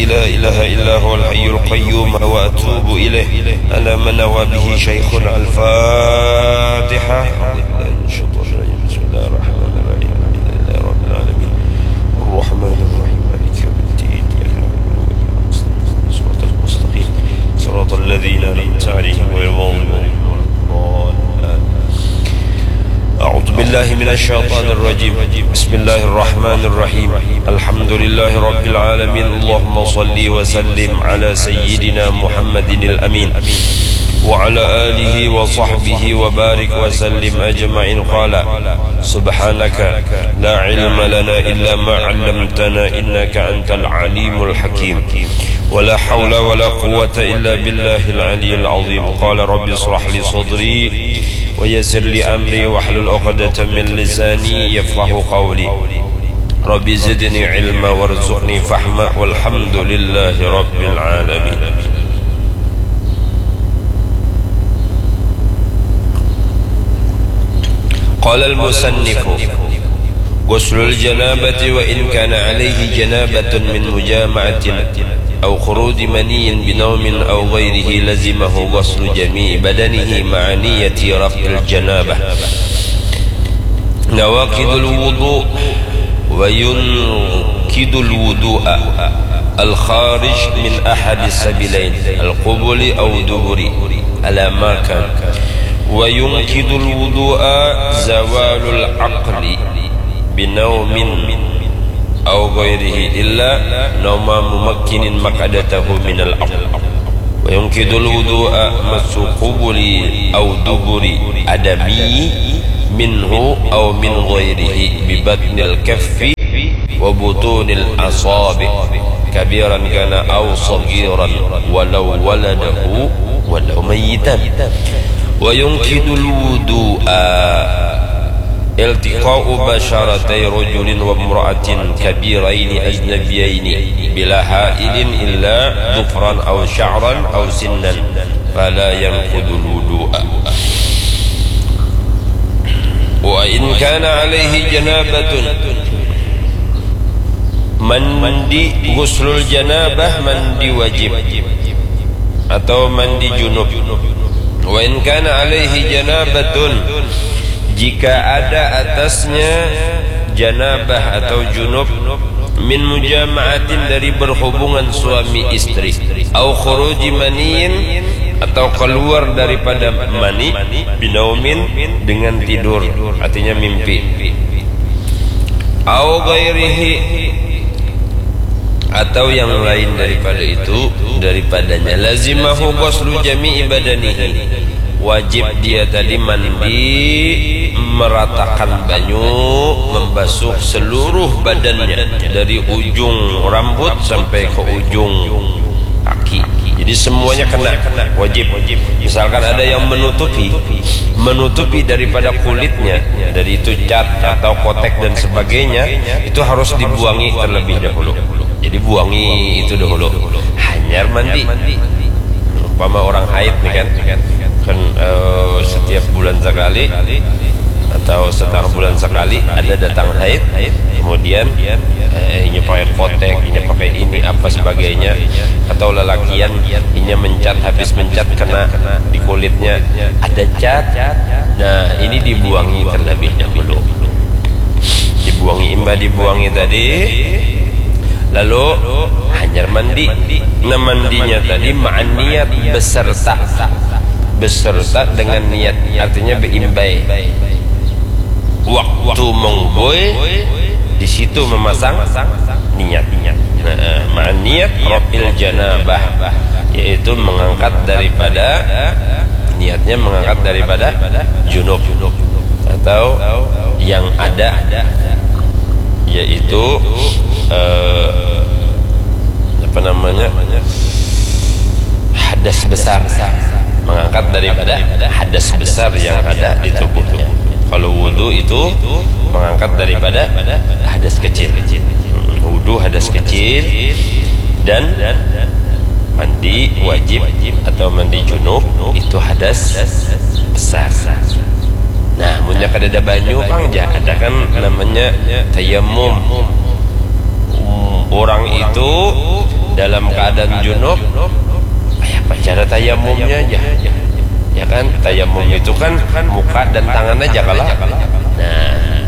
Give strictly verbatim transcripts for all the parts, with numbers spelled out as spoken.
لا إله إلا هو الحي القيوم وأتوب إليه. على ما نوى به شيخنا. الفاتحة. أعوذ بالله من الشيطان الرجيم. بسم الله الرحمن الرحيم. الحمد لله رب العالمين. الرحمن الرحيم. مالك يوم الدين. إياك نعبد وإياك نستعين. صراط المستقيم. صراط الذين أنعمت عليهم غير المغضوب عليهم ولا الضالين. أعوذ بالله من الشيطان الرجيم. بسم الله الرحمن الرحيم. الحمد لله رب العالمين. اللهم صل وسلم على سيدنا محمد الأمين وعلى آله وصحبه وبارك وسلم أجمعين. قال: سبحانك لا علم لنا إلا ما علمتنا إنك أنت العليم الحكيم. ولا حول ولا قوة إلا بالله العلي العظيم. قال: رب اشرح لي صدري ويسر لي أمري واحلل عقدة من لساني يفقه قولي. رب زدني علما وارزقني فهما والحمد لله رب العالمين. قال المصنف: غسل الجنابة وإن كان عليه جنابة من مجامعة أو خروج مني بنوم أو غيره لزمه غسل جميع بدنه مع نية رفع الجنابة. نواقض الوضوء: وينقض الوضوء الخارج من أحد السبيلين، القبل أو الدبر، على ما كان. وينقض الوضوء زوال العقل بنوم أو غيره إلا نوم ممكن مقعدته من الأرض. وينقض الوضوء مس قبل أو دبر آدمي منه أو من غيره ببطن الكف وبطون الأصابع كبيرا كان أو صغيرا ولو ولده ولو ميتا. وينقض الوضوء التقاء بشرتي رجل وامرأة كبيرين أجنبيين بلا حائل إلا ظفرا أو شعرا أو سنا فلا ينقض الوضوء. وإن كان عليه جنابة. Mandi, ghuslul janabah, mandi wajib atau mandi junub. Wa in kana alaihi janabatun, jika ada atasnya janabah atau junub, min mujama'atin, dari berhubungan suami istri, au khuruji maniyin, atau keluar daripada mani, binaumin, dengan tidur, artinya mimpi, au ghairihi, atau yang lain daripada itu, daripadanya, lazimahu ghuslu jami'i badanihi, wajib dia tadi mandi, meratakan banyu, membasuh seluruh badannya, dari ujung rambut sampai ke ujung kaki. Jadi semuanya kena, wajib. Misalkan ada yang menutupi, menutupi daripada kulitnya, dari itu cat atau kotek dan sebagainya, itu harus dibuangi terlebih dahulu. Jadi buangi itu dahulu. Hanyar mandi. Umpama orang haid nih kan, kan, eh, setiap bulan sekali atau setengah bulan sekali ada datang haid, kemudian, eh, inya pakai kotek, inya pakai ini, apa sebagainya, atau lalakian, inya mencat, habis mencat kena di kulitnya ada cat. Nah, ini dibuangi terlebih dahulu. Dibuangi, imbah dibuangi tadi, lalu hanyar mandi. Nah, mandinya tadi ma'an niat, beserta, beserta dengan niat, artinya beimbai. Waktu mengubui, di situ memasang niat. Nah, ma'an niat raf'il janabah, yaitu mengangkat daripada, niatnya mengangkat daripada junub atau yang ada, yaitu, eh, apa namanya, hadas besar, mengangkat daripada hadas besar yang ada di tubuhnya. Kalau wudu itu mengangkat daripada hadas kecil. Wudu hadas kecil, dan mandi wajib atau mandi junub itu hadas besar. Nah, munnya kadada banyu pang, ja, ada kan namanya tayamum. Orang itu Dalam keadaan junub, apa cara tayamumnya aja? Ya kan, tayamum itu kan muka dan tangan aja kalau. Nah,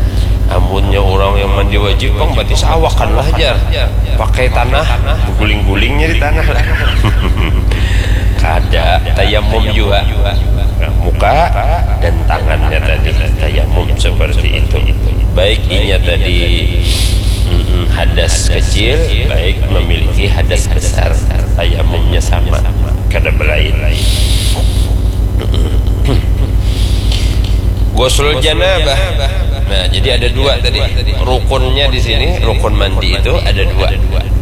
amunnya orang yang mandi wajib, bang, berarti seawakan lah, jar. Pakai tanah, guling-gulingnya di tanah lah. Kada, tayamum juga. Nah, muka dan tangannya tadi tayamum seperti itu. Baik inya tadi, mm, hadas kecil, baik memiliki hadas besar, tayamumnya sama, kada belain. Ghuslul janabah. Nah, jadi ada dua tadi. Rukunnya di sini, rukun mandi itu ada dua.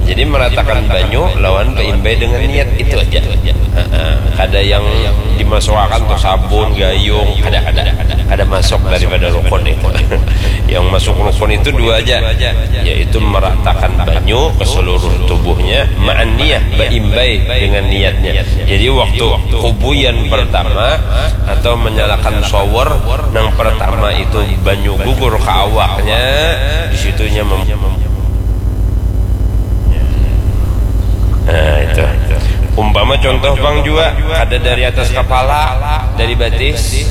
Jadi meratakan banyu lawan beimbai dengan niat itu aja. Heeh. Kada yang dimasukakan tuh sabun, gayung, kada, kada, kada masuk daripada rukun itu. Yang masuk rukun itu dua aja, yaitu meratakan banyu ke seluruh tubuhnya, ma'an niyah, beimbai dengan niatnya. Jadi waktu kubuyan pertama atau menyalakan shower nang pertama itu banyu gugur ke awaknya, di situnya mem- Nah, itu. Umpama contoh, bang, jua kada dari atas kepala, dari batis.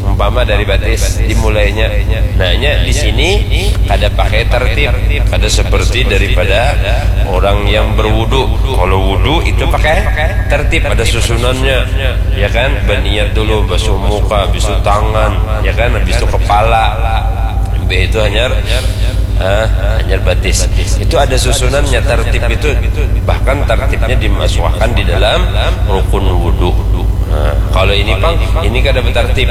Umpama dari batis dimulainya. Nah, nya di sini kada pakai tertib, kada seperti daripada orang yang berwudu. Kalau wudu itu pakai tertib, ada susunannya, ya kan? Berniat dulu, basuh muka, habis itu tangan, ya kan? Habis itu kepala. Habis itu hanyar, ah, hanyar batis. Itu ada susunannya, tertib itu. Bahkan tertibnya dimasukkan di dalam rukun wudu. Nah, kalau ini, pang, ini kada betertib.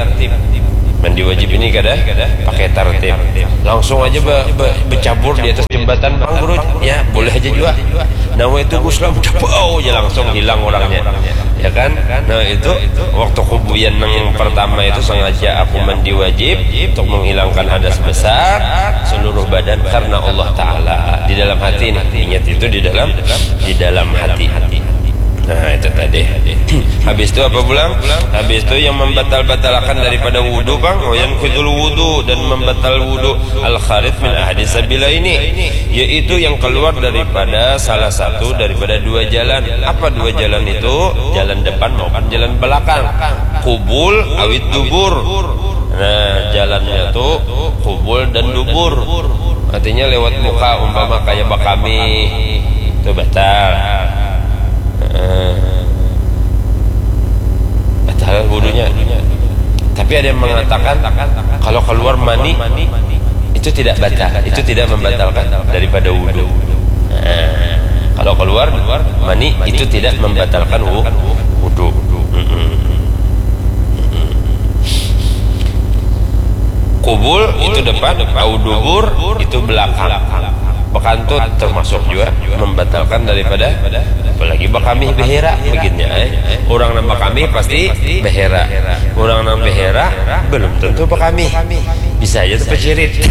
Mandi wajib ini kada pakai tertib. Langsung aja be- be- becabur di atas jembatan, pang, guru. Ya, boleh aja juga. Nawaitu ghusla, udah, bau aja, langsung hilang orangnya. Ya kan? Nah, itu waktu kubuyan yang pertama itu sengaja aku mandi wajib untuk menghilangkan hadas besar seluruh badan karena Allah Ta'ala. Di dalam hati nih, ingat itu di dalam, di dalam hati. Nah, itu tadi. Habis itu apa pulang? Habis itu yang membatal-batalkan daripada wudu, bang, wa yanqudul wudu, dan membatal wudu, al kharij min ahadi sabila ini, yaitu yang keluar daripada salah satu daripada dua jalan. Apa dua jalan itu? Jalan depan maupun jalan belakang. Kubul awid dubur. Nah, jalannya tuh kubul dan dubur. Artinya lewat muka, umpama kayak bakami, itu batal. Heeh. Batal wudunya. Tapi ada yang mengatakan kalau keluar mani itu tidak batal, itu tidak membatalkan daripada wudu. Nah, kalau keluar mani itu tidak membatalkan wu- wudu. Mm-mm. Kubul itu depan, au dubur itu belakang. Bekantut termasuk juga membatalkan daripada, apalagi bakamih behera begini, eh. Orang nang bakamih pasti behera. Orang nang behera belum tentu bakamih. Bisa aja tuh pecirit.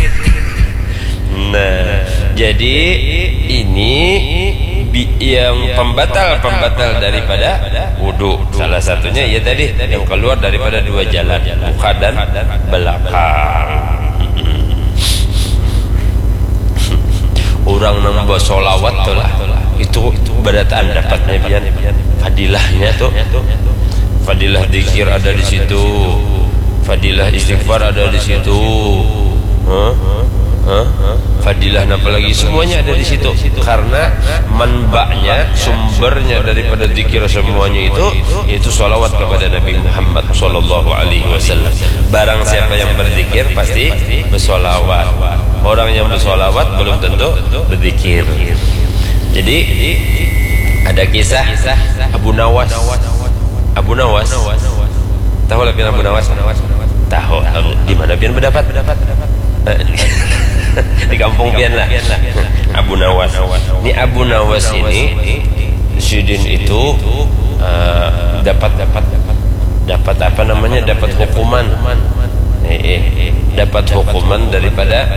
Nah, jadi ini bi- yang pembatal-pembatal daripada wudu. Salah satunya ya tadi yang keluar daripada dua jalan, muka dan belakang. Orang nang basolawat tuh lah, itu berataan dapatnya pian, fadilahnya tuh. Fadilah zikir ada di situ, fadilah istighfar ada di situ. Hah? Hah? Fadilah apa lagi? Semuanya ada di situ. Karena manbanya, sumbernya daripada zikir semuanya itu, yaitu salawat kepada Nabi Muhammad sallallahu alaihi wasallam. Barang siapa yang berzikir pasti bersolawat. Orang yang bersolawat belum tentu berzikir. Jadi ada kisah Abu Nawas. Abu Nawas. Tahu lah pian Abu Nawas? Tahu. Di mana pian berdapat? Di kampung pian lah. Abu Nawas. Ini Abu Nawas ini, sidin itu, eh, dapat, dapat, dapat apa namanya? Dapat hukuman. Eh, eh, dapat hukuman daripada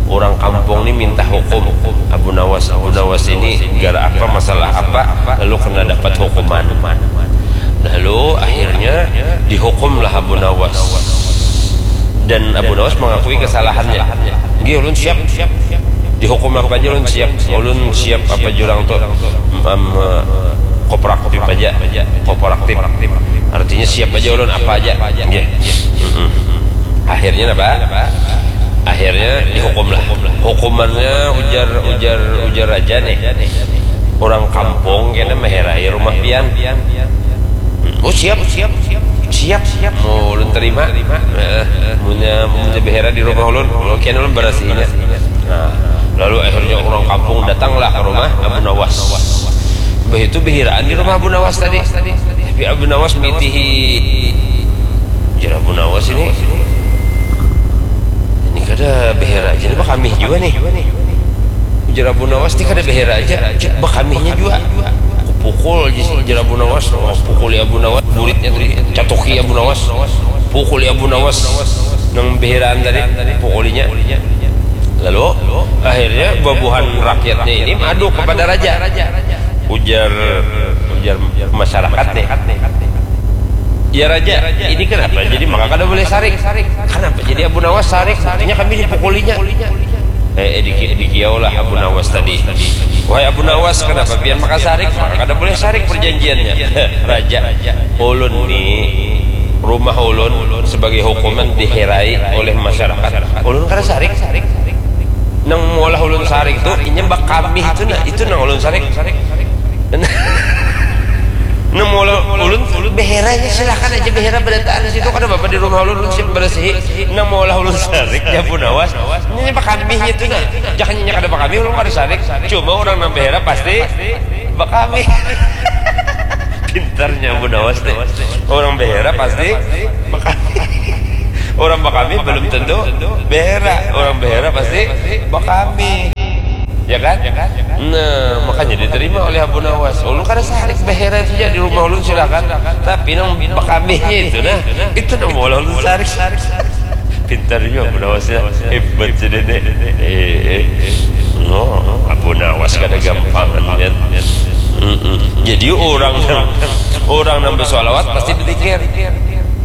orang kampung ni minta hukum Abu Nawas. Abu Nawas ini gara apa, masalah apa, lalu kena dapat hukuman. Lalu akhirnya dihukumlah Abu Nawas. Dan Abu Nawas mengakui kesalahannya. Nggih, ulun siap. Dihukum apa aja ulun siap. Ulun siap apa jurang tuh. Em, kooperatif aja. Kooperatif. Artinya siap aja ulun apa aja. Nggih. Mm-mm. Akhirnya apa? Akhirnya dihukum lah. Hukumannya ujar ujar ujar aja nih. Orang kampung kena meherai rumah pian. Oh siap, siap, siap, siap, siap. Mau ulun terima. Nah, punya punya behera di rumah ulun. Oke, ulun berasihinnya. Nah, lalu akhirnya orang kampung datanglah ke rumah Abu Nawas. Begitu behiraan di rumah Abu Nawas tadi. Tapi Abu Nawas mitihi. Jar Abu Nawas ini, ini kada behera aja, ini bakamih juga nih. Ujar Abu Nawas, ini kada behera aja, cek bakamihnya juga. Kupukul, jar Abu Nawas. Oh, pukuli Abu Nawas, muridnya tadi, catuki Abu Nawas. Pukuli Abu Nawas nang beheraan tadi, pukulinya. Lalu akhirnya babuhan rakyatnya ini madu kepada raja. Ujar ujar masyarakat nih. Ya raja, ini kenapa jadi maka kada boleh sarik? Kenapa jadi Abu Nawas sarik? Buktinya kami dipukulinya. Eh, eh diki, dikiaulah Abu Nawas tadi. Wahai Abu Nawas, kenapa pian maka sarik? Maka kada boleh sarik perjanjiannya. Raja, ulun ni rumah ulun sebagai hukuman diherai oleh masyarakat. Ulun kada sarik. Nang maulah ulun sarik tu inya bakamih tu nah, itu nang ulun sarik. Nang maulah ulun beheranya silakan aja behera berataan di situ, kada apa di rumah ulun, ulun siap bersihi. Nang maulah ulun sarik ya Abu Nawas, inya bakamihnya tu nah. Jangan inya kada bakamih ulun kada sarik. Cuma orang nang behera pasti bakamih. Pintarnya Abu Nawas nih. Orang behera pasti bakamih. Orang bakamih belum tentu behera. Orang behera pasti bakamih. Ya kan? Nah, makanya diterima oleh Abu Nawas. Ulun kada sarik behera itu ja di rumah ulun silakan. Tapi nang bakamihnya itu nah, itu nang maulah ulun sarik. Pintar juga Abu Nawas ya. Hebat sih nenek. Eh, eh. No, Abu Nawas kada gampangan kan. Mm-mm. Jadi orang orang nang bersolawat pasti berzikir.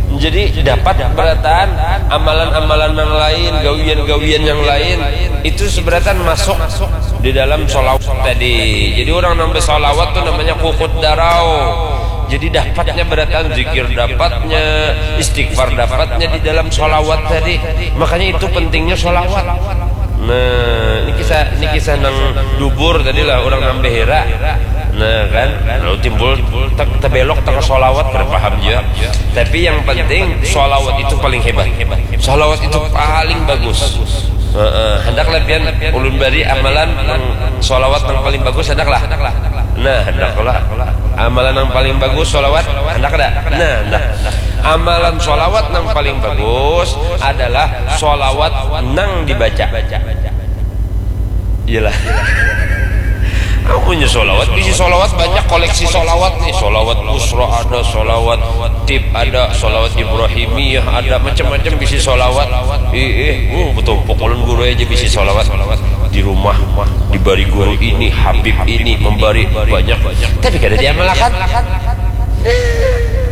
Jadi dapat berataan amalan-amalan yang lain, gawian-gawian yang lain itu seberatan masuk di dalam solawat tadi. Jadi orang nang bersolawat tuh namanya kukut darau. Jadi dapatnya berataan zikir, dapatnya istighfar, dapatnya di dalam solawat tadi. Makanya itu pentingnya solawat. Nah, ini kisah ini kisah nang dubur tadi lah, orang nang behera. Nah kan, lalu timbul te- tebelok tengah solawat, kada paham juga. Tapi yang penting solawat itu paling hebat. Solawat itu paling bagus. Heeh, handaklah pian ulun bari amalan nang solawat nang paling bagus, handaklah. Nah, handaklah. Amalan nang paling bagus solawat, handak kada? Nah, nah. Amalan solawat nang paling bagus adalah solawat nang dibaca. Iyalah. Amunnya solawat, bisi solawat banyak, koleksi solawat nih. Solawat usra ada, solawat tip ada, solawat ibrahimiyah ada, macam-macam bisi solawat. Ih, ih, uh, betul. Pokoknya guru aja bisi solawat. Di rumah, dibari guru ini, habib ini, membari banyak. Tapi kada diamalkan.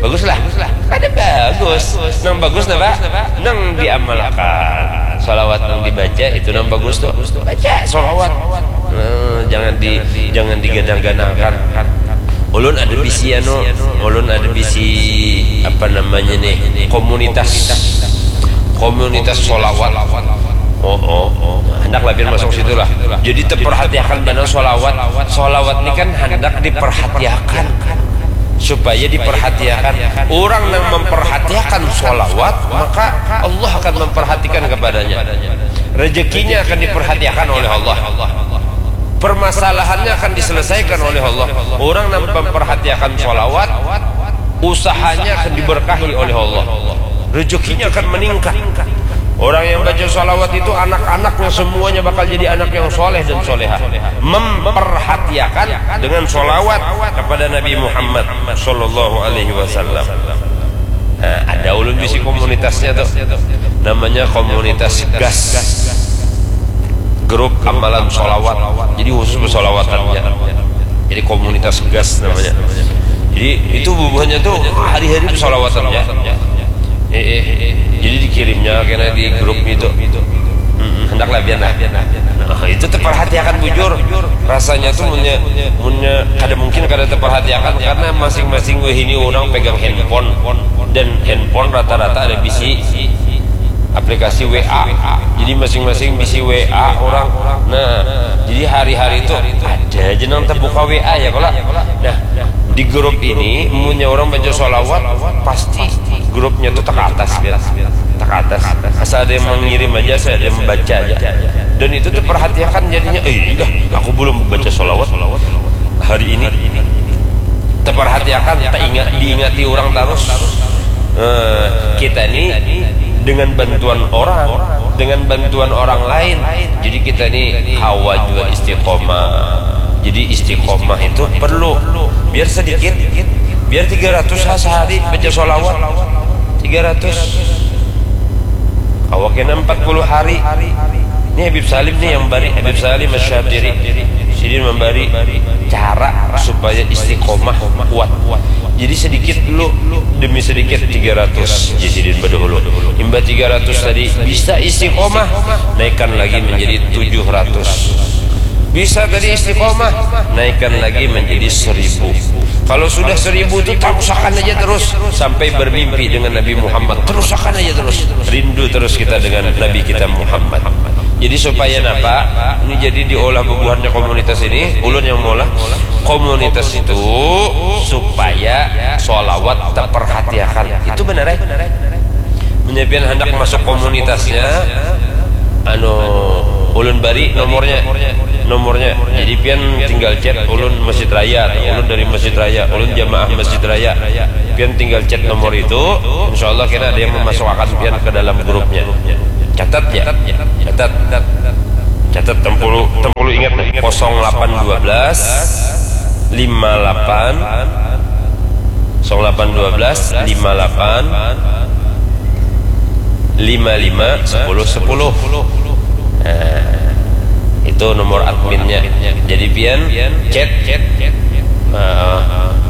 Baguslah. Kada bagus. Nang bagus napa? Nang diamalkan. Salawat nang dibaca itu nang bagus tuh. Baca salawat. Nah, jangan di jangan digadang-gadangkan. Ulun ada bisi anu, ulun ada bisi apa namanya nih, komunitas komunitas solawat. Oh, oh, oh. Hendak labian masuk situ lah. Jadi terperhatikan benar solawat. Solawat ini kan hendak diperhatikan supaya diperhatikan. Orang yang memperhatikan solawat maka Allah akan memperhatikan kepadanya. Rezekinya akan diperhatikan oleh Allah. Permasalahannya akan diselesaikan oleh Allah. Orang yang memperhatikan solawat, usahanya akan diberkahi oleh Allah. Rezekinya akan meningkat. Orang yang baca salawat itu anak-anaknya semuanya bakal jadi anak yang soleh dan soleha. Memperhatiakan dengan salawat kepada Nabi Muhammad sallallahu alaihi wasallam. Nah, ada ulun bisi komunitasnya tuh. Namanya komunitas gas. Grup amalan salawat. Jadi khusus bersalawatannya. Jadi komunitas gas namanya. Jadi itu bubuhannya tuh hari-hari bersalawatannya. Eh, eh, eh. Jadi dikirimnya kena di grup itu. Hendaklah biar lah. Nah, itu terperhatiakan bujur. Rasanya tuh munnya munnya kada mungkin kada terperhatiakan karena masing-masing wahini orang pegang handphone dan handphone rata-rata ada bisi aplikasi W A. Jadi masing-masing bisi W A orang. Nah, jadi hari-hari itu ada aja nang terbuka W A ya kalau. Nah, di grup ini munnya orang baca sholawat pasti grupnya tuh tak atas biar tak atas. Asal ada yang mengirim aja, asal ada yang membaca aja. Dan itu tuh perhatiakan jadinya, eh dah, aku belum baca sholawat hari ini. Terperhatiakan, tak ingat, diingati orang terus. Eh, kita ini dengan bantuan orang, dengan bantuan orang lain, jadi kita ini hawa juga istiqomah. Jadi istiqomah itu perlu, biar sedikit, biar tiga ratus lah sehari baca sholawat. Tiga ratus. Awak kena empat puluh hari. Ini Habib Salim nih yang bari, Habib Salim Asy-Syatiri. Sidin membari cara supaya istiqomah kuat. Jadi sedikit dulu demi sedikit tiga ratus. Jadi sidin berdahulu. Imba tiga ratus tadi bisa istiqomah, naikkan lagi menjadi tujuh ratus. Bisa tadi istiqomah, naikkan lagi menjadi seribu. Kalau sudah seribu itu terusakan aja terus sampai bermimpi dengan Nabi Muhammad. Terusakan aja terus. Rindu terus kita dengan Nabi kita Muhammad. Jadi supaya napa? Ini jadi diolah bubuhannya komunitas ini, ulun yang maulah komunitas itu supaya sholawat terperhatiakan. Itu benar ya? Menyapian hendak masuk komunitasnya, anu ulun bari nomornya, nomornya. Jadi pian tinggal chat ulun Masjid Raya, ulun dari Masjid Raya, ulun jamaah Masjid Raya. Pian tinggal chat nomor itu, insya Allah kena ada yang memasukkan pian ke dalam grupnya. Catat ya, catat, catat tempulu, tempulu ingat nih, kosong delapan dua belas lima delapan, kosong delapan dua belas lima delapan lima lima sepuluh sepuluh. Nah, itu nomor adminnya. Jadi pian chat, eh,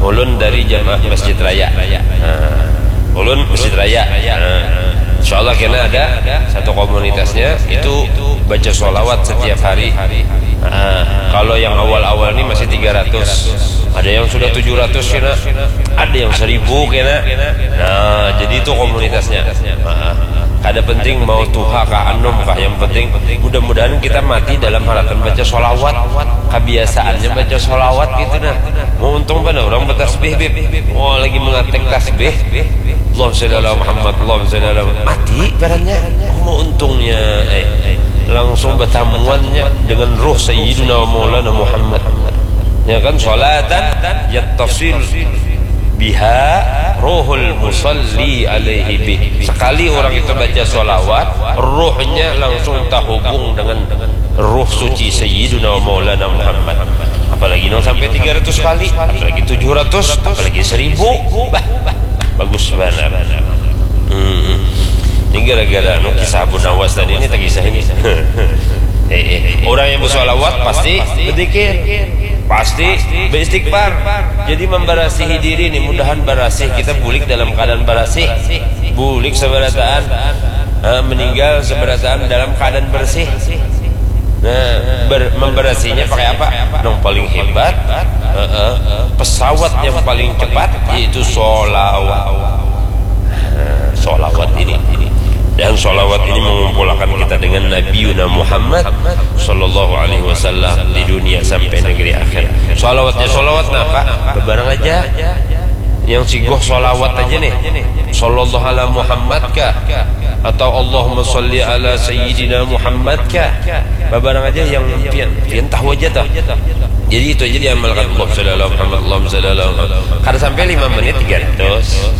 ulun dari jamaah Masjid Raya. Nah, ulun Masjid Raya. Nah, insya Allah kena ada satu komunitasnya itu baca sholawat setiap hari. Nah, kalau yang awal-awal ini masih tiga ratus, ada yang sudah tujuh ratus kena, ada yang seribu kena. Nah, jadi itu komunitasnya. Nah, kada penting mau tuha kah anom kah, yang penting mudah-mudahan kita mati dalam haratan baca sholawat. Kebiasaannya baca sholawat gitu nah. Mau untung pada orang bertasbih, Bib. Wah, lagi mengatek tasbih. Allahumma sholli ala Muhammad, Allahumma sholli ala Muhammad. Mati barannya. Mau untungnya, eh, langsung bertamuannya dengan ruh Sayyidina wa Maulana Muhammad. Ya kan, sholatan yattasil biha ruhul musalli alaihi bih. Sekali orang itu baca sholawat, ruhnya langsung terhubung dengan ruh suci Sayyidina wa Maulana Muhammad. Apalagi nang sampai tiga ratus kali, apalagi tujuh ratus, apalagi seribu. Bah, bagus banar. Hmm. Ini gara-gara anu kisah Abu Nawas tadi ini tak kisah ini. Eh, eh. Orang yang bersolawat pasti berzikir, pasti beristighfar. Jadi memberasihi diri nih, mudahan berasih kita bulik dalam keadaan berasih, bulik seberataan, eh, meninggal seberataan dalam keadaan bersih. Nah, ber, memberasinya pakai apa? Yang paling hebat, eh, eh, pesawat yang paling cepat yaitu solawat. Nah, solawat ini. Dan solawat ini mengumpulkan kita dengan Nabi Yuna Muhammad sallallahu alaihi wasallam di dunia sampai negeri akhir. Solawatnya solawat napa? Bebarang aja. Yang sigoh solawat aja nih. Sallallahu ala Muhammad kah? Atau Allahumma salli ala Sayyidina Muhammad kah? Bebarang aja yang pian, pian tahu aja tuh. Jadi itu aja diamalkan. Allahumma salli ala Muhammad, Allahumma salli ala Muhammad. Kada sampai lima menit tiga ratus.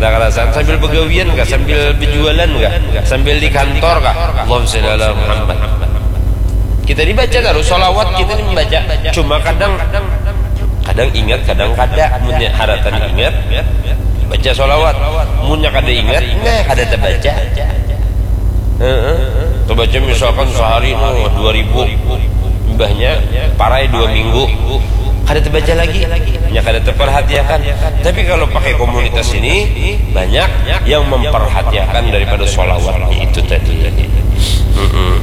Kada karasan sambil begawian kah, sambil berjualan kah, sambil di kantor kah. Allahumma salli ala Muhammad. Kita dibaca terus solawat, kita ini membaca. Cuma kadang, kadang ingat, kadang kada. Munnya haratan ingat, baca solawat. Munnya kada ingat, nah kada terbaca. Heeh. Terbaca misalkan sehari no dua ribu, imbahnya parai dua minggu, kada terbaca lagi. Nya kada terperhatiakan. Tapi kalau pakai komunitas ini, banyak yang memperhatiakan daripada solawatnya itu tadi.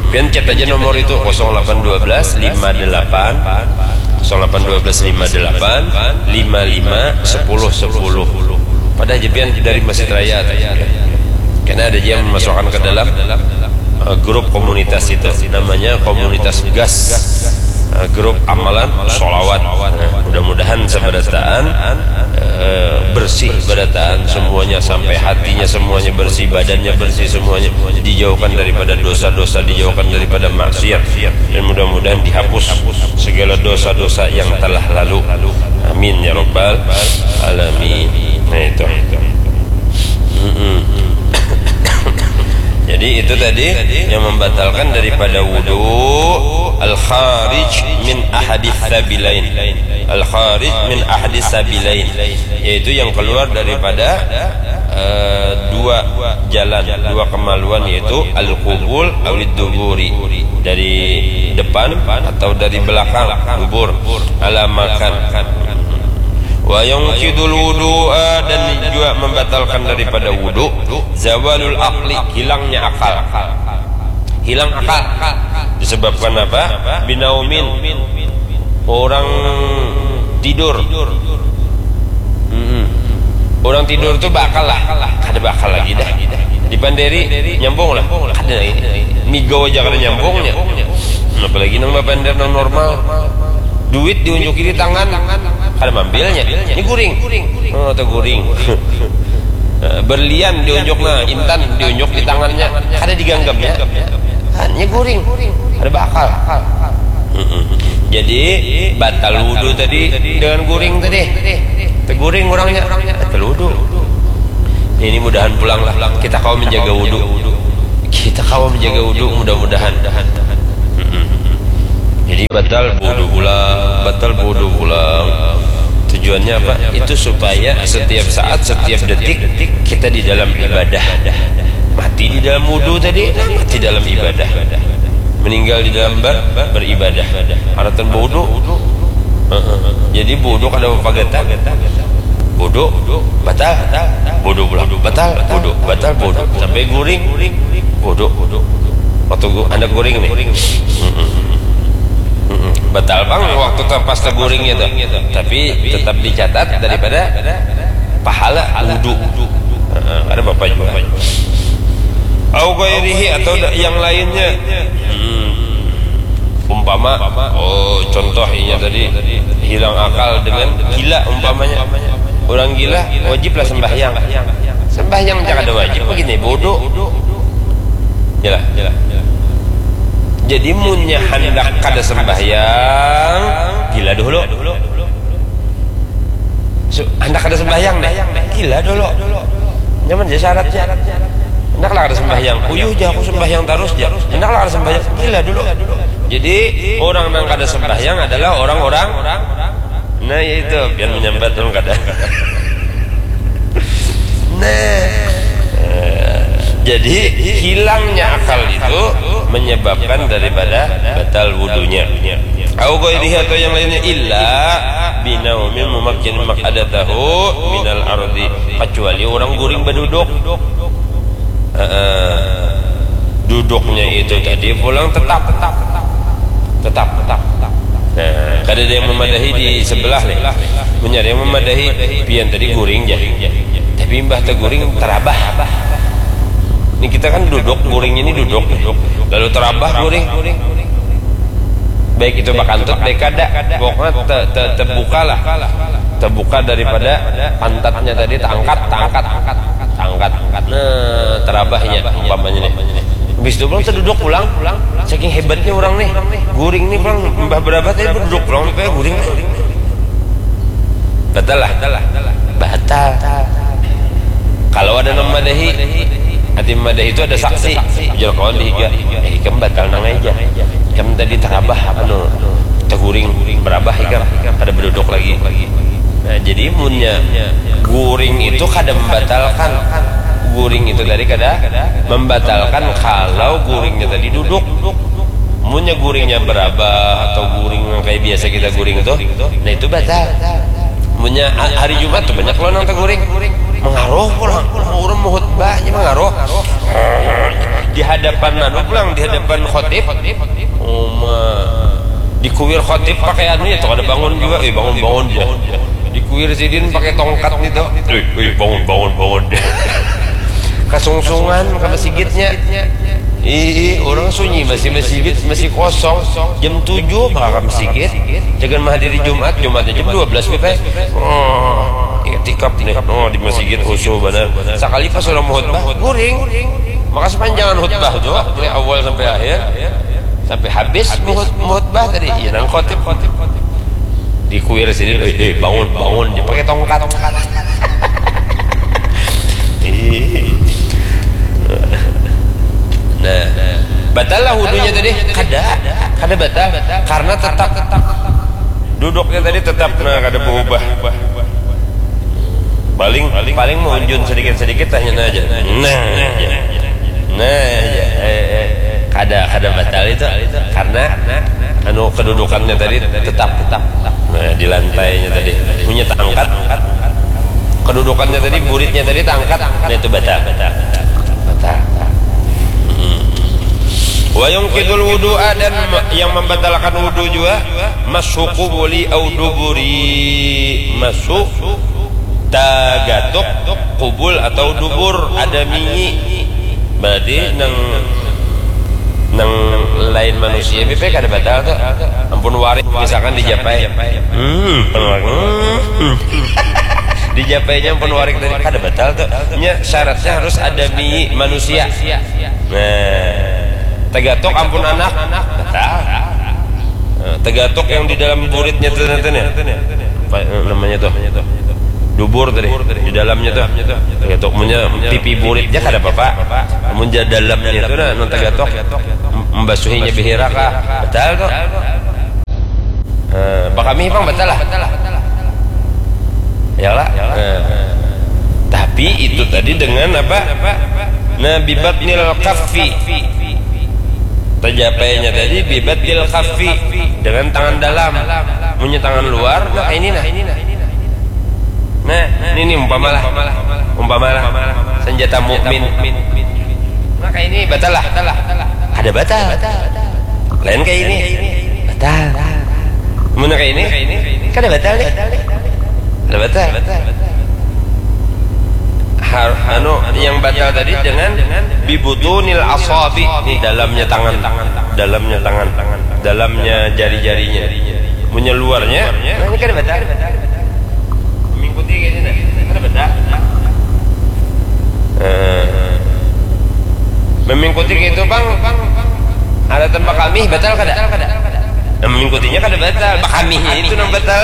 Pian chat aja nomor itu, kosong delapan dua belas lima delapan, kosong delapan dua belas lima delapan lima lima sepuluh sepuluh. Pada aja pian dari Masjid Raya tu. Karena ada aja yang memasukkan ke dalam eh, grup komunitas itu, namanya komunitas gas, eh, grup amalan sholawat. Nah, mudah-mudahan sabarataan eh, bersih barataan semuanya, sampai hatinya semuanya bersih, badannya bersih semuanya, dijauhkan daripada dosa-dosa, dijauhkan daripada maksiat, dan mudah-mudahan dihapus segala dosa-dosa yang telah lalu. Amin ya rabbal alamin. Nah, itu. Mm-mm. Jadi itu tadi yang membatalkan daripada wudu, al kharij min ahadis sabilain. Al kharij min ahadis sabilain, yaitu yang keluar daripada eh, dua jalan, dua kemaluan, yaitu al qubul awid duburi, dari depan atau dari belakang, dubur, ala makan. Wa yunqidul wudu'a, dan juga membatalkan daripada wudu, zawalul aqli, hilangnya akal. Hilang akal. Disebabkan apa? Binaumin. Orang tidur. Mm-mm. Orang tidur tuh bakal lah. Kada bakal lagi dah. Dipanderi, nyambung lah. Kada lagi. Migau aja kada nyambungnya. Apalagi nang bapander nang normal. Duit diunjuki di tangan, kada mambilnya. Ini guring. Oh, atau guring. Eh, berlian diunjuk, nah, intan diunjuk di tangannya, kada diganggamnya. Hanya guring. Kada bakal. Mm-mm. Jadi batal wudu tadi dengan guring tadi. Teguring orangnya, batal wudu. Ini mudahan pulang lah. Kita kawa menjaga wudu. Kita kawa menjaga wudu, mudah-mudahan. Mm-mm. Jadi batal wudu pulang, batal wudu pulang. Tujuannya apa? Itu supaya setiap saat, setiap detik kita di dalam ibadah. Mati di dalam wudu tadi, mati dalam ibadah. Meninggal di dalam ber, beribadah. Haratan wudu. Heeh. Jadi wudu kada bapagata. Wudu batal, wudu pulang batal, wudu batal, wudu sampai guring. Wudu. Waktu gu- anak guring nih. Mm-mm. Mm-mm. Batal bang waktu tu pas teguringnya tuh. Tapi tetap dicatat daripada pahala wudu. Heeh, ada bapak juga. Au ghairihi, atau da- yang lainnya. Hmm. Umpama, oh, contoh inya tadi hilang akal dengan gila umpamanya. Orang gila wajiblah sembahyang. Sembahyang jangan ada wajib begini, bodoh. Jelas. Jadi munnya hendak kada sembahyang, gila dulu. Su- hendak kada sembahyang deh, gila dulu. Nyaman aja syaratnya. Hendaklah kada sembahyang. Uyuh ja aku sembahyang terus ja. Hendaklah kada sembahyang, gila dulu. Jadi orang yang kada sembahyang adalah orang-orang, nah, ya itu, biar menyambat dong kada. Nah, eh, jadi hilangnya akal itu menyebabkan daripada batal wudunya. Au ghairihi, atau yang lainnya, illa binaumin mumakkin maq'adatahu minal ardi, kecuali orang guring baduduk. Heeh. Duduknya itu tadi pulang tetap, tetap, tetap. Nah, kada ada yang memadahi di sebelah nih. Mencari yang memadahi, pian tadi guring ja. Tapi imbah teguring terabah. Ini kita kan duduk, guring ini duduk. Lalu terabah guring. Baik itu bakantut, baik kada. Pokoknya te, te, terbuka lah. Terbuka daripada pantatnya tadi, terangkat, terangkat, terangkat. Nah, terabahnya umpamanya nih. Habis itu pulang terduduk pulang. Saking hebatnya orang nih. Guring nih pulang, mbah berabah tadi berduduk pulang, kayak guring. Batal lah. Batal. Kalau ada nang madahi, hati madahi itu ada saksi. Ujar kawan di higa, eh, ikam batal nang aja. Ikam tadi terabah, anu, teguring berabah ikam, kada berduduk lagi. Nah, jadi munnya guring itu kada membatalkan. Guring itu tadi kada membatalkan kalau guringnya tadi duduk. Munnya guringnya berabah atau guring yang kayak biasa kita guring tuh, nah itu batal. Munnya ha- hari Jumat tuh banyak lo nang teguring. Mengaruh pulang. Orang mau khutbahnya mengaruh. Di hadapan anu pulang, di hadapan khotib. Uma. Dikuir khotib pakai anu ya, tuh ada bangun juga. Eh, bangun-bangun ya. Dikuir sidin pakai tongkat nih tuh. Eh, eh, bangun, bangun, bangun. Kasungsungan ke masjidnya. Ih, orang sunyi masih masjid masih kosong. Jam tujuh bakal ke masjid. Jangan menghadiri Jumat, Jumatnya jam dua belas kita. Oh, iktikaf nih. Oh, di masjid khusyuk benar. Sekali pas orang khutbah, guring. Maka sepanjangan khutbah tuh, dari awal sampai akhir, sampai habis muhut- muhutbah tadi, iya nang khotib. Dikuir sini, eh, eh, bangun, bangun, dia pakai tongkat. Ih. Nah, batal lah wudunya tadi, kada, kada batal, karena tetap duduknya tadi tetap, nah, kada berubah. Paling paling mau unjun sedikit-sedikit, tanya aja. Nah, aja. Nah, aja. Eh, eh. Kada kada batal itu karena anu kedudukannya tadi tetap tetap. Nah, di lantainya tadi punya tangkat, kedudukannya tadi, buritnya tadi tangkat, nah itu batal. Batal. Hmm. Wa yunqidul wudu'a, dan ma- yang membatalkan wudu juga, mashu qubuli au duburi, mashu tagatuk kubul atau dubur, ada minyi. Berarti nang nang lain manusia bipe kada batal tuh. Ampun warik misalkan dijapai. Hmm, hmm. Dijapainya ampun warik tadi kada batal tuh. Nya syaratnya harus ada minyi manusia. Nah, tagatuk ampun anak batal. Nah, tagatuk yang di dalam buritnya tuh nanti nih. Apa, eh, namanya tuh? Dubur tadi. Di dalamnya tuh. Tagatuk munnya pipi buritnya kada apa-apa. Munnya dalamnya tuh nah, nang tagatuk. Membasuhinya bihira kah? Batal tuh. Eh, bakami pang batal lah. Ya lah. Eh. Tapi itu tadi dengan apa? Nah, bibatnil kaffi. Tajapainya tadi bibatnil kaffi, dengan tangan dalam. Munnya tangan luar, nah ini nah. Nah, ini nih umpamalah. Umpamalah senjata mukmin. Nah, kayak ini batal lah. Ada batal. Lain kayak ini. Batal. Mun kayak ini, kada batal nih. Kada batal. Har, anu yang batal tadi dengan bibutunil asabi, ini dalamnya tangan, dalamnya tangan, dalamnya jari-jarinya. Munnya luarnya, nah ini kada batal. Mengikuti kayak ini nah. Kada batal. Eh, memengikuti kayak itu bang. Ada tempat kami batal kada? Nah, mengikutinya kada batal, bakamihnya itu nang batal.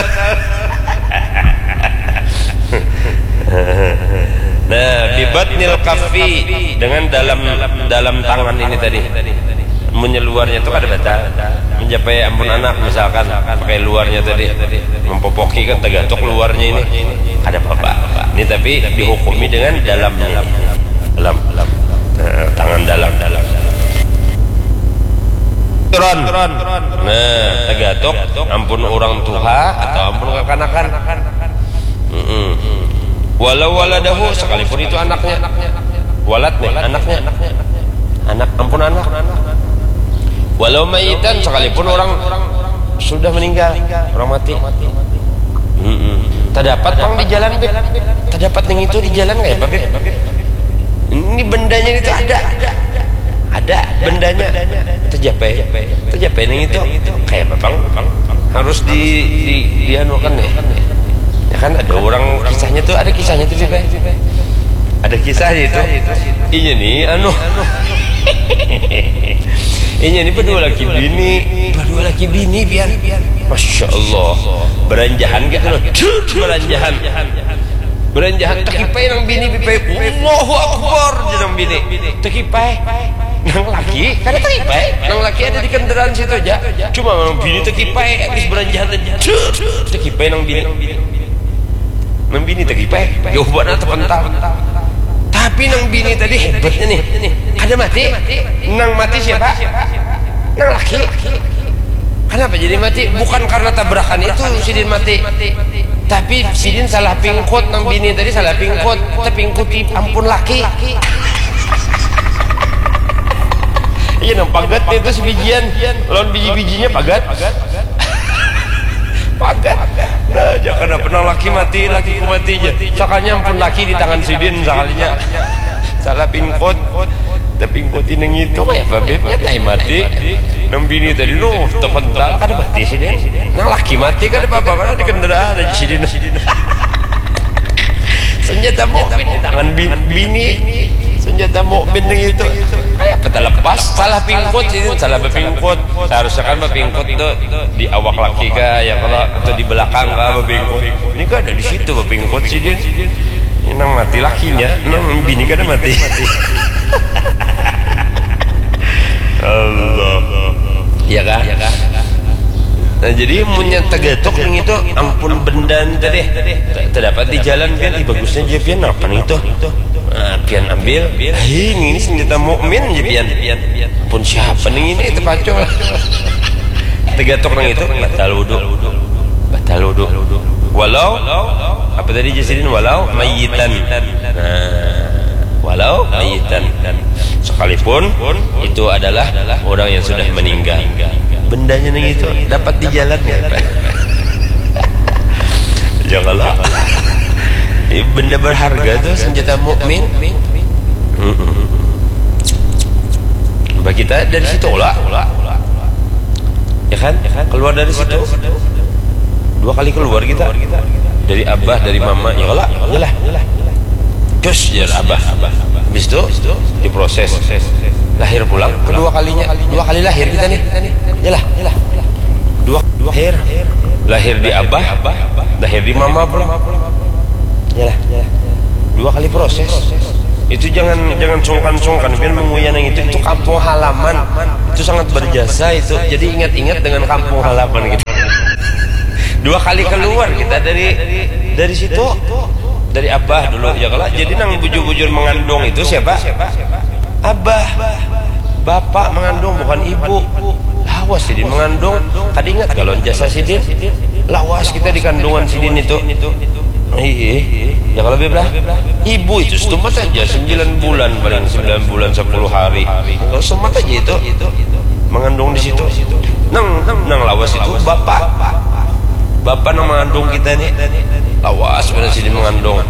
Nah, bibatnil kaffi, dengan dalam dalam tangan ini tadi. Munnya luarnya itu kada batal. Mencapai ampun anak misalkan pakai luarnya tadi, mempopoki kan tagatuk luarnya ini, kada apa-apa. Ini tapi dihukumi dengan dalamnya. Dalam, dalam. Nah, tangan dalam, dalam. Nah, tagatuk ampun orang tuha atau ampun kakanakan. Mm-mm. Walau waladahu, sekalipun itu anaknya. Walad nih, anaknya. Anak, ampun anak. Walau mayitan, sekalipun orang sudah meninggal, orang mati. Mm-mm. Terdapat bang di jalan, Bib. Terdapat yang itu di jalan kayak apa, Bib? Ini bendanya itu ada. Ada bendanya. Terjapai. Terjapai yang itu kayak apa, bang? Harus di di dianukan nih. Ya kan ada orang kisahnya tuh, ada kisahnya tuh, Bib. Ada kisahnya itu. Iya nih, anu. Iya nih berdua laki bini. Berdua laki bini biar. Masya Allah. Beranjahan gitu loh. Cut, beranjahan. Beranjahan, tekipai nang bini, bipai, Allahu Akbar, jar nang bini. Tekipai. Nang laki, kada tekipai. Nang laki ada di kendaraan situ aja. Cuma nang bini tekipai, habis beranjahan tadi. Cut, tekipai nang bini. Nang bini tekipai. Jauh banget terpental. Tapi nang bini tadi hebatnya nih. Kada mati. Nang mati siapa? Nang laki. Kenapa jadi mati? Bukan karena tabrakan itu sidin mati. Tapi sidin salah pingkut, nang bini tadi salah pingkut. Tepingkuti ampun laki. Iya, nang pagat nih tuh sebijian. Lawan biji-bijinya pagat. Pagat. Nah, jangan pernah laki mati, laki ku mati aja. Soalnya ampun laki di tangan sidin sekalinya. Salah pingkot. Tapi pingkot ini ngitu kayak apa, Beb? Ya, tai mati. Nang bini tadi, nuh, tepental, kada mati sidin. Nang laki mati, kada apa-apa, kada dikendera, ada di sidin. Senjata mukmin di tangan bi- bini. Senjata mukmin yang itu. Kayak apa terlepas? Salah pingkot sih, salah bepingkot. Seharusnya kan bepingkot tuh di awak laki kah, ya kalau, atau di belakang kah bepingkot. Ini kan ada di situ bepingkot sih dia. Ini nang mati lakinya, nang bini kada mati. Allah. Ya kah? Nah, jadi munnya tegatuk nih itu, ampun benda nih tadi. Te- Terdapat di jalan pian, ih, bagusnya aja pian, apa nih itu? Nah, pian ambil, hei, ini senjata mukmin aja pian. Ampun siapa nih ini, itu pacul. Tegatuk nang itu, batal wudu. Batal wudu. Walau, apa tadi, Jasidin? Walau mayitan. Nah, walau mayitan. Sekalipun itu adalah orang yang sudah meninggal. Bendanya nang itu dapat di jalan ya, Pak. Ya kalau ini benda berharga tuh, senjata mukmin. Mm-mm. Bah, kita dari situ lah. Ya kan? Keluar dari situ. Dua kali keluar kita. Dari abah, dari mama. Ya lah, ya lah. Cus, ya abah. Habis itu diproses. Lahir pulang kedua kalinya. Dua kali lahir kita nih. Ya lah, ya lah. Dua lahir. Lahir di abah, lahir di mama pulang. Ya lah, ya lah. Dua kali proses. Itu jangan, jangan sungkan-sungkan pian menguyah nang itu. Itu kampung halaman. Itu sangat berjasa itu. Jadi ingat-ingat dengan kampung halaman gitu. Dua kali keluar kita dari, dari situ. Dari abah dulu, ya kalau. Jadi nang bujur-bujur mengandung itu siapa? Abah. Bapak mengandung, bukan ibu. Lawas sidin mengandung. Kada ingat kalau jasa sidin. Lawas kita di kandungan sidin itu. Iya. Ya kalau beblah. Ibu itu setumat aja, sembilan bulan, paling sembilan bulan sepuluh hari. Kalau setumat aja itu. Mengandung di situ. Nang, nang lawas itu bapak. Bapak nang mengandung kita nih. Lawas pada sidin mengandung.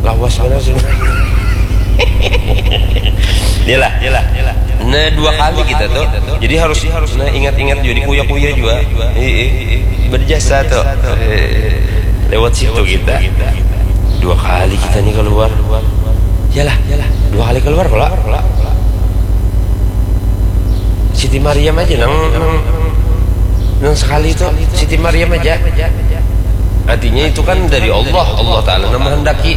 Lawas pada sidin. Iyalah, iyalah. Nah, dua kali kita tuh. Jadi harus, harus, nah, ingat-ingat juga, dikuya-kuya juga. Iya, iya. Berjasa tuh. Eh, lewat situ kita. Dua kali kita nih keluar. Yalah, yalah. Dua kali keluar kalau. Siti Maryam aja nang, nang, nang sekali itu Siti Maryam aja. Artinya itu kan dari Allah, Allah Ta'ala nang menghendaki.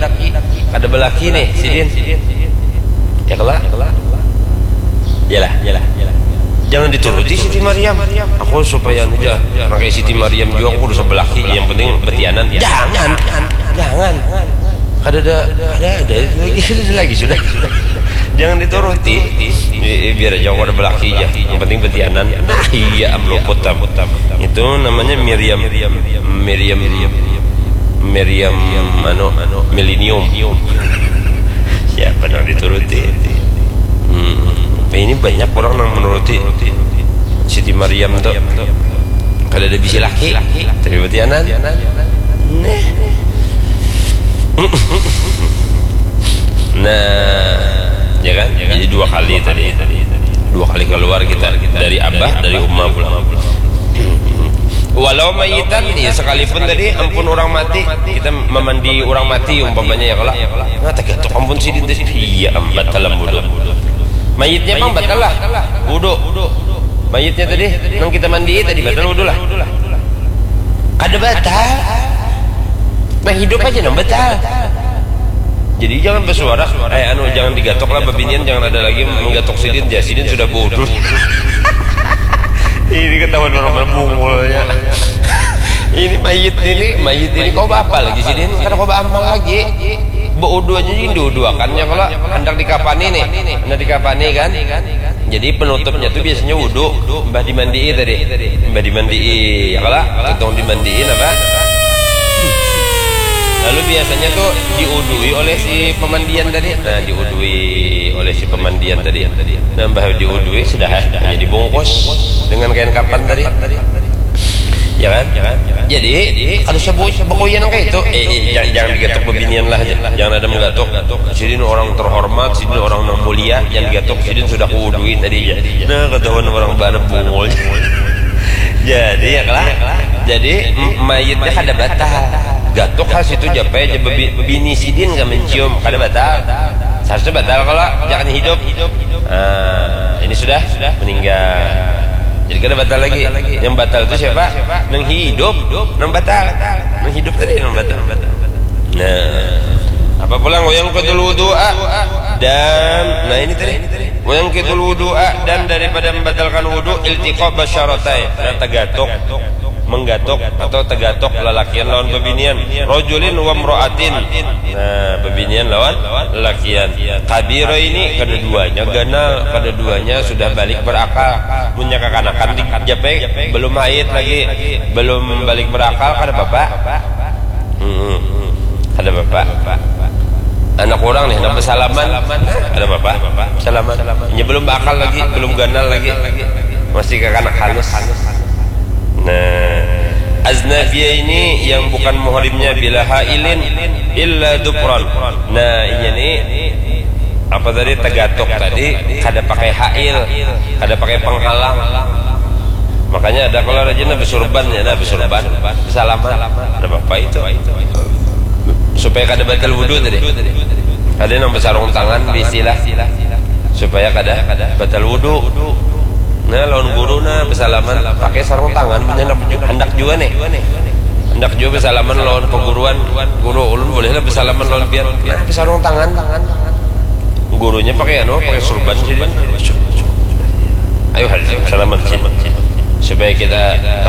Kada belaki nih, sidin. Ya kelak. Yalah, yalah. Jangan dituruti Siti Maryam. Aku supaya anu aja, pakai Siti Maryam juga, aku udah sebelaki. Yang penting betianan. Jangan, jangan. Kada ada, ada, ada lagi, ada lagi sudah. Jangan dituruti. Eh, eh, biar aja aku ada belaki aja. Yang penting betianan. Nah, iya, am luput tam. Itu namanya Miriam, Miriam, Miriam, anu, milenium. Siapa nang dituruti? Hmm. Ini banyak orang nang menuruti Siti Maryam tuh. Kada ada bisi laki, tapi betianan. Neh. Nah, ya kan? Jadi dua kali tadi. Dua kali keluar kita dari abah, dari umma pulang. Walau mayitan, ya sekalipun tadi ampun orang mati, kita memandi orang mati umpamanya ya kalau. Nah, tak ketok ampun sih, iya, am, batal am wudu. Mayitnya pang batal lah wudu. Mayitnya tadi nang kita mandi tadi batal wudu lah. Kada batal. Nah, hidup aja nang batal. Jadi jangan bersuara, eh, anu, jangan digatok lah, bebinian jangan ada lagi menggatok sidin, ya sidin sudah bodoh. Ini ketahuan orang berbungulnya. Ini mayit ini, mayit ini kau apa lagi sidin? Kada kau amal lagi. Beudu aja yang diuduakannya kalau hendak dikapani nih. Hendak dikapani kan. Jadi penutupnya tuh biasanya wudu, mbah dimandii tadi. Mbah dimandii, ya kalau? Untung dimandii apa? Lalu biasanya tuh diudui oleh si pemandian tadi. Nah, diudui oleh si pemandian tadi. Nah, bah diudui sudah, hanya dibungkus dengan kain kapan tadi. Ya kan? Jadi, kada usah bu- bakuyan kayak itu. Eh, eh, jangan, jangan digatuk bebinian lah aja. Jangan ada menggatuk. Sidin orang terhormat, sidin orang nang mulia, jangan digatuk, sidin sudah kuudui tadi aja. Nah, ketahuan orang bana bungul. Jadi, ya kalah. Jadi, m- mayitnya kada batal. Gatuk ha situ japai aja bebi- bini sidin ka mencium, kada batal. Seharusnya batal kalau jangan hidup. Nah, ini sudah meninggal. Jadi kada batal lagi. Yang batal itu siapa? Nang hidup, nang batal. Nang hidup tadi nang batal. Nah, apa pulang wayang kedul wudu'a dan nah ini tadi wayang kedul wudu'a dan daripada membatalkan wudu iltiqa basyaratai. Nah, tegatuk, menggatuk atau tegatuk lalakian lawan bebinian, rojulin wa mro'atin. Nah, bebinian lawan lalakian. Kabiro ini kada duanya ganal, kada duanya sudah balik berakal. Munnya kakanakan di japai belum haid lagi, belum balik berakal, kada apa-apa. Hmm, kada apa-apa. Anak orang nih, nak bersalaman, kada apa-apa. Bersalaman. Ini belum berakal lagi, belum ganal lagi. Masih kakanak halus. Nah, aznabiyah ini yang bukan muhrimnya bila hailin illa dupron. Nah, inya nih apa tadi tegatuk tadi kada pakai hail, kada pakai penghalang. Makanya ada kalau rajin nah besurban ya, nah besurban, bersalaman, ada apa itu supaya kada batal wudhu tadi. Ada yang bersarung tangan istilah supaya kada batal wudhu. Nah, lawan guru nah bersalaman pakai sarung tangan, punya hendak, hendak juga nih. Hendak juga bersalaman lawan perguruan, guru ulun bolehlah bersalaman lawan pian. Nah, bersarung tangan. Gurunya pakai anu, pakai surban sih. Ayo salaman sih. Supaya kita